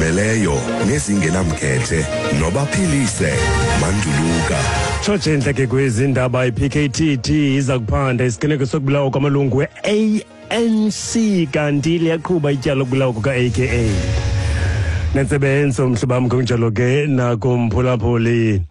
Ezizimeleyo nezingenamkhethe nobaphilise manduluka. Tshotshe entle ke kwezi ndaba, i-PKTT iza kuphanda isiganeko sokubulawa kwamalungu we-ANC, kanti liyaqhuba ityala lokubulawa kuka-AKA. Nentsebenzo mhlobo wam, kunjalo ke nakumphulaphuli.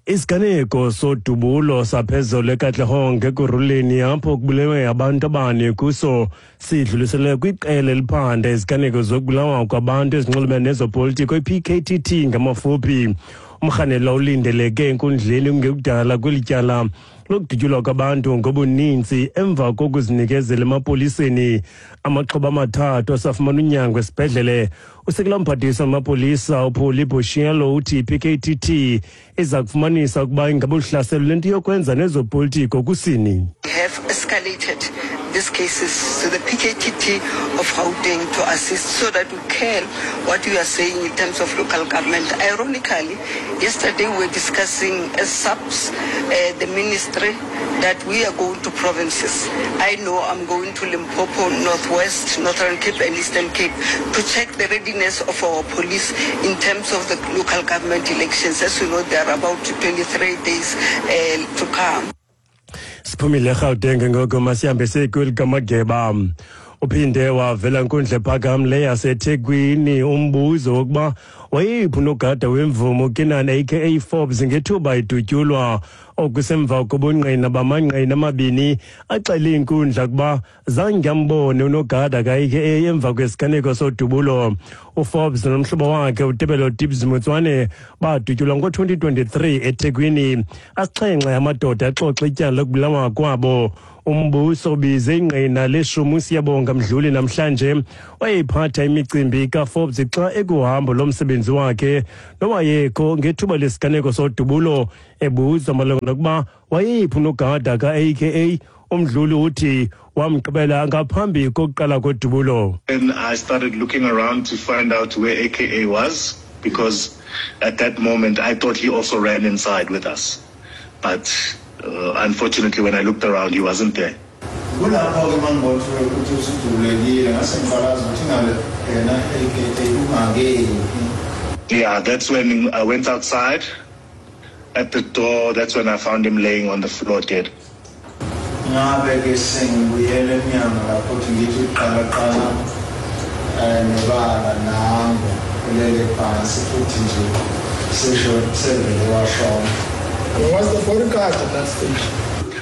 Isiganeko sodubulo saphezulu eKatlehong eKurhuleni, apho kubulewe abantu abane kuso, sidluliselwe kwiqela eliphanda iziganeko zokubulawa kwabantu ezinxulumene nezopolitiko, i-PKTT ngamafuphi. Umrhanelwa ulindeleke enkundleni kungekudala kweli tyala lokudutyulwa kwabantu ngobuninzi emva kokuzinikezela emapoliseni. Amaxhoba amathathu asafumana unyango esibhedlele. Usekela mphathiswa wamapolisa uPolly Boshielo uthi i-PKTT iza kufumanisa ukuba ingaba uhlaselo lento yokwenza nezopolitiko kusini. We have escalated these cases to the PKTT of Gauteng to assist so that we can what you are saying in terms of local government. Ironically, yesterday we were discussing as SAPS, the ministry, that we are going to provinces. I know I'm going to Limpopo, Northwest, Northern Cape and Eastern Cape to check the readiness of our police in terms of the local government elections. As you know, there are about 23 days to come. Siphumile eGauteng ngoko, masihambe sekulikamageba. Uphinde wavela nkundla ephakamileyo yaseThekwini umbuzo wokuba wayeyiphi unogada wemvumo uKiernan aka Forbes ngethuba idutyulwa, okusemva kobungqina bamangqina amabini axele inkundla kuba zange ambone unogada ka-AKA emva kwesiganeko sodubulo. UForbes nomhlobo wakhe uTebello Tibz Motsoane badutyulwa ngo-2023 eThekwini. Asixhenxe amadoda axoxa ityala lokubulawa kwabo. Umbuso ubize ingqina leshumi, uSiyabonga Mdluli, namhlanje wayeyiphatha imicimbi kaForbes xa ekuhambo lomsebenzi wakhe, nowayekho ngethuba lesiganeko sodubulo. Ebuzwa malunga nokuba wayeyiphi unogada ka-AKA, uMdluli uthi wamgqibela ngaphambi kokuqala kodubulo. Then I started looking around to find out where AKA was, because at that moment I thought he also ran inside with us. But unfortunately, when I looked around, he wasn't there. Kulapho-ke uma ngibona ukuthi usudubulekile, ngase ngiqalaza ukuthi ngabe yena AKA ungakephi. Yeah, that's when I went outside. At the door, that's when I found him laying on the floor dead. Ngabe-ke sengibuyela emnyango lapho ukuthi ngithi uqalaqala um nebala, nango ulele phansi futhi nje sesho sevele washona. Was the bodyguard at that stage?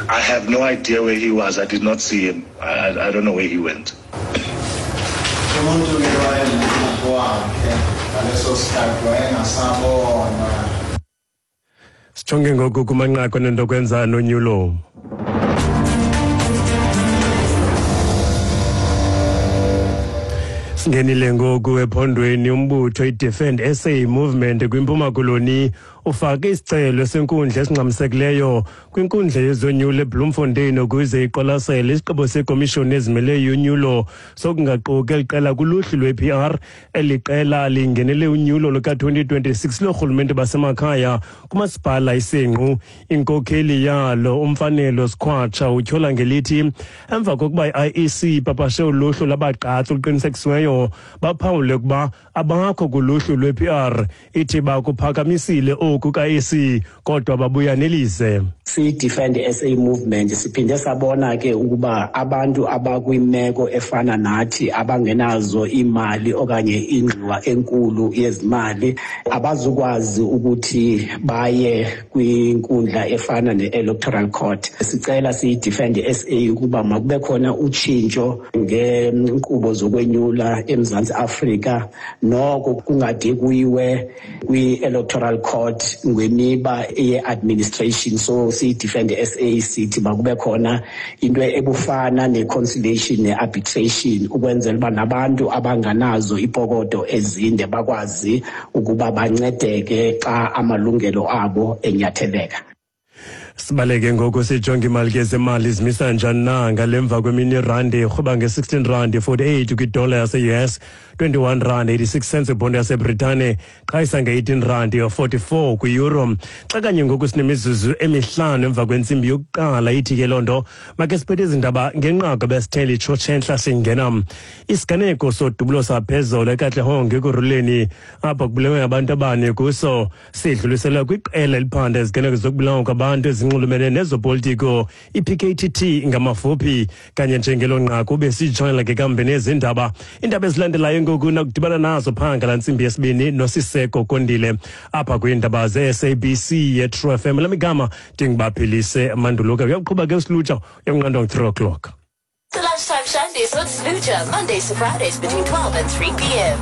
I have no idea where he was. I did not see him. I don't know where he went. Umuntu-ke wayenomnyango wakhe ngaleso sikhathi wayengasabonwa. Sijonge ngoku kumanqaku anento kwenza nonyulo. Singenile ngoku ephondweni. Umbutho iDefend SA Movement kwiMpuma Koloni ufake isicelo senkundla esingxamisekileyo kwinkundla yezonyulo eBloemfontein ukuze iqwalasele isigqibo sekomishoni ezimeleyo yonyulo sokungaquki eli qela kuluhlu lwe-PR. Eli qela lingenele unyulo luka-2026 loorhulumente basemakhaya kumasipala iSenqu. Inkokheli yalo, uMfanelo Sikhwatsha, utyhola ngelithi emva kokuba i-IEC ipapashe uluhlu lwabagqatsi oluqinisekisiweyo, baphawule ukuba abakho kuluhlu lwe-PR. Ithi bakuphakamisile oku ka-IEC, kodwa babuya nelize. Siyi-Defend SA Movement siphinde sabona ke ukuba abantu abakwimeko efana nathi, abangenazo iimali okanye ingxowa enkulu yezimali, abazukwazi ukuthi baye kwinkundla efana ne-Electoral Court. Sicela siyi-Defend SA ukuba makube khona utshintsho ngeenkqubo zokwenyula eMzantsi Afrika, noko kungade kuyiwe kwi-Electoral Court ngemiba ye-administration. So siyi-Defend SA sithi makube khona into ebufana ne-conciliation ne-arbitration, ukwenzela uba nabantu abanganazo ipokoto ezinde bakwazi ukuba bancedeke xa amalungelo abo enyatheleka. Sibaleke ngoku sijonge imali ke zemali zimisa njani na ngale mva kwemini. Irandi irhuba nge-16 rand 48 kwidola yase-US, 21 rand 86 cents ibhondo yaseBritane, qhayisa nge-18 rand 44 kwi-euro. Xa kanye ngoku sinemizuzu 5 emva kwentsimbi yokuqala, ithi ke loo nto make siphethe izindaba ngenqaku besithele itshotshe entla. Singena isiganeko sodubulo saphezolo eKatlehong Ekurhuleni, apho kubulewe abantu abane kuso, sidluliselwa kwiqela eliphanda iziganeko zokubulawa kwabantu ezinxulumene nezopolitiko, i-PKTT ngamafuphi. Kanye njengelo nqaku besijongela ke kambe nezindaba. Iindaba ezilandelayo ngoku nakudibana nazo phaa ngala ntsimbi yesibini noSiseko Kondile apha kwiindaba ze-SABC ye-True FM. Lamigama ndinguBaphilise Manduluka. Uyaqhuba ke uSilutsha, uyakunqandwa ngu-3 o'clock. The Lunchtime Shandies with Sluja, Mondays to Fridays between 12 and 3 p.m.